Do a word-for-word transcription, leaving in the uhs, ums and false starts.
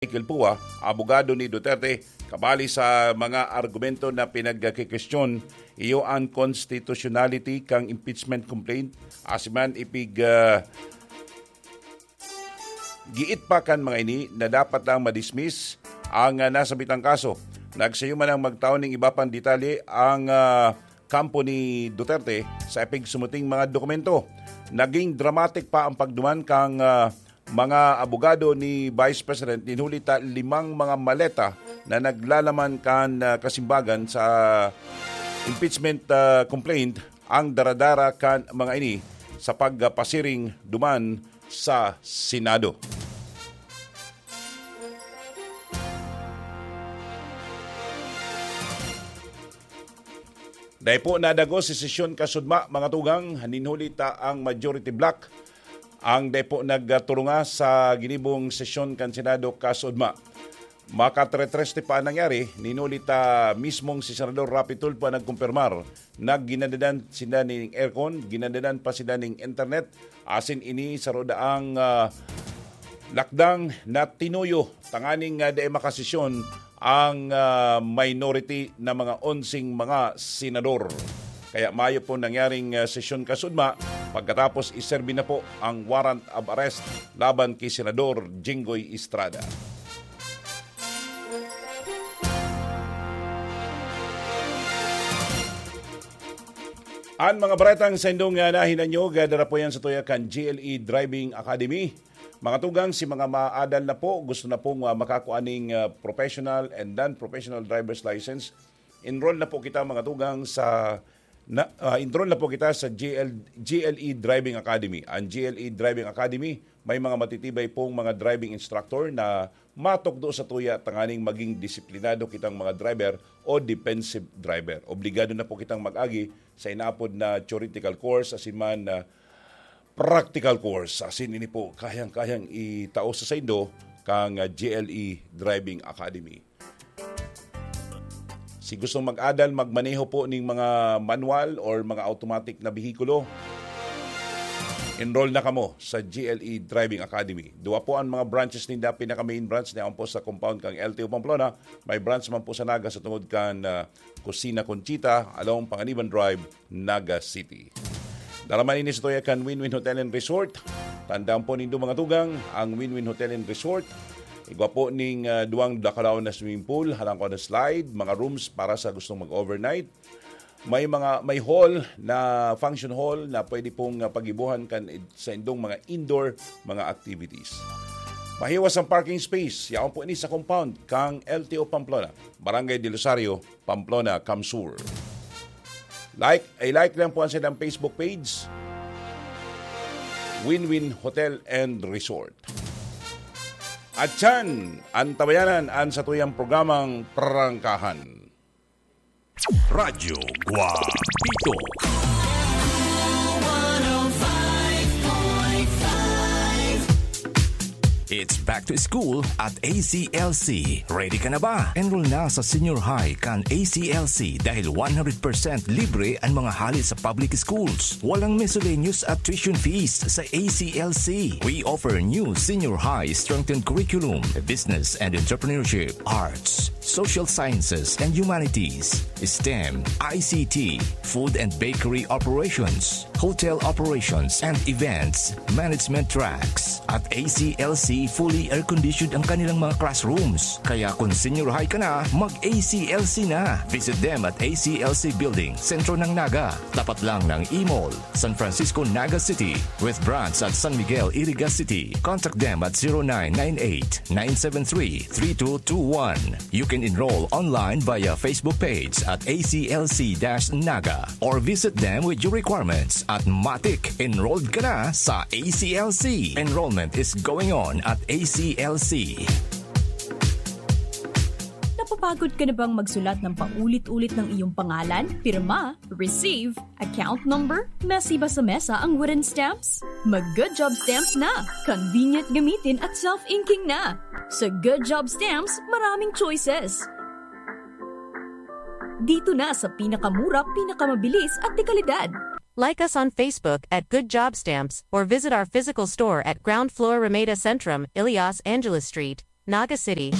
Michael Pua, abogado ni Duterte, kabali sa mga argumento na pinagkikestyon, iyo ang constitutionality kan impeachment complaint, asin man ipig, ah, giit pa kan mga ini na dapat lang madismiss ang, ah, nasabitang kaso. Nagsayo man ang magtaon ning iba pang detalye ang, ah, kampo ni Duterte sa ipigsumuting mga dokumento. Naging dramatic pa ang pagduman kang, ah, mga abogado ni Vice President nin huli ta limang mga maleta na naglalaman kan, ah, kasimbagan sa impeachment, ah, complaint ang daradara kan mga ini sa pagpasiring duman sa Senado. Dai po nadagos si sesyon kasudma, mga tugang, nin huli ta ang majority bloc ang dai po nagturunga sa ginibong sesyon kan Senado kasudma. Makatrereste pa ang nangyari, nin huli ta mismong si Senador Raffy Tulfo ang nagkumpirmar na ginadadan sinda ning aircon, ginadadan pa sinda ning internet, asin ini saro daang, ah, lakdang na tinuyo tanganing, ah, dai makasesyon ang, ah, minority na mga onseng mga senador. Kaya mayo po nangyaring, ah, sesyon kasudma, pagkatapos iserbi na po ang warrant of arrest laban ki Senador Jinggoy Estrada. An mga baretang saindong, ah, nahinanyog, ah, dara po yan sa tuya kan G L E Driving Academy. Mga tugang, si mga maadal na po, gusto na pong, ah, makakua ning, ah, professional and non-professional driver's license, enroll na po kita, mga tugang, sa, na, ah, enroll na po kita sa G L, G L E Driving Academy. Ang G L E Driving Academy, may mga matitibay pong mga driving instructor na matukdo sa tuya tanganing maging disiplinado kitang mga driver o defensive driver. Obligado na po kitang mag-agi sa inaapod na theoretical course, asin man na practical course. Asin ini po, kayang-kayang itao sa saindo kang, ah, G L E Driving Academy. Si gustong mag-adal, magmaneho po ning mga manual or mga automatic na behikulo, enroll na kamo sa G L E Driving Academy. Duwa po ang mga branches ninda. Pinaka-main branch na po sa compound kang L T O Pamplona. May branch man po sa Naga sa tungod kan, ah, Cocina Conchita, along Panganiban Drive, Naga City. Dara man ini sa tuya kan Win-Win Hotel and Resort. Tandaan po nindo, mga tugang, ang Win-Win Hotel and Resort. Igwa po ning, ah, duwang dakulaw na swimming pool, halangkaw na slide, mga rooms para sa gustong mag-overnight. May mga, may hall na, function hall na pwede pong, ah, paggibohan kan id-, sa indong mga indoor, mga activities. Mahiwas ang parking space. Yaon po ini sa compound kang L T O Pamplona, Barangay del Rosario, Pamplona, CamSur. Like, i-like lang po ang silang Facebook page, Win-Win Hotel and Resort. At yan, ang tabayanan, ang satuyang programang Prangkahan. Radyo Guapito. It's back to school at A C L C. Ready ka na ba? Enroll na sa senior high kan A C L C dahil one hundred percent libre ang mga hali sa public schools. Walang miscellaneous at tuition fees sa A C L C. We offer new senior high strengthened curriculum, business and entrepreneurship, arts, social sciences and humanities, STEM, I C T, food and bakery operations, hotel operations and events management tracks. At A C L C, fully air-conditioned ang kanilang mga classrooms. Kaya kung senior high ka na, mag-A C L C na. Visit them at A C L C Building, sentro ng Naga, tapat lang ng E-Mall, San Francisco, Naga City, with branch at San Miguel, Iriga City. Contact them at zero nine nine eight, nine seven three, three two two one. You can enroll online via Facebook page at A C L C dash Naga or visit them with your requirements at matik, enrolled ka na sa A C L C. Enrollment is going on at A C L C. Napapagod ka na bang magsulat ng paulit-ulit ng iyong pangalan, pirma, receive, account number? Messy ba sa mesa ang wooden stamps? Mag Good Job Stamps na! Convenient gamitin at self-inking na! Sa Good Job Stamps, maraming choices. Dito na sa pinakamura, pinakamabilis at dekalidad. Like us on Facebook at Good Job Stamps or visit our physical store at ground floor Ramada Centrum, Ilias Angeles Street, Naga City.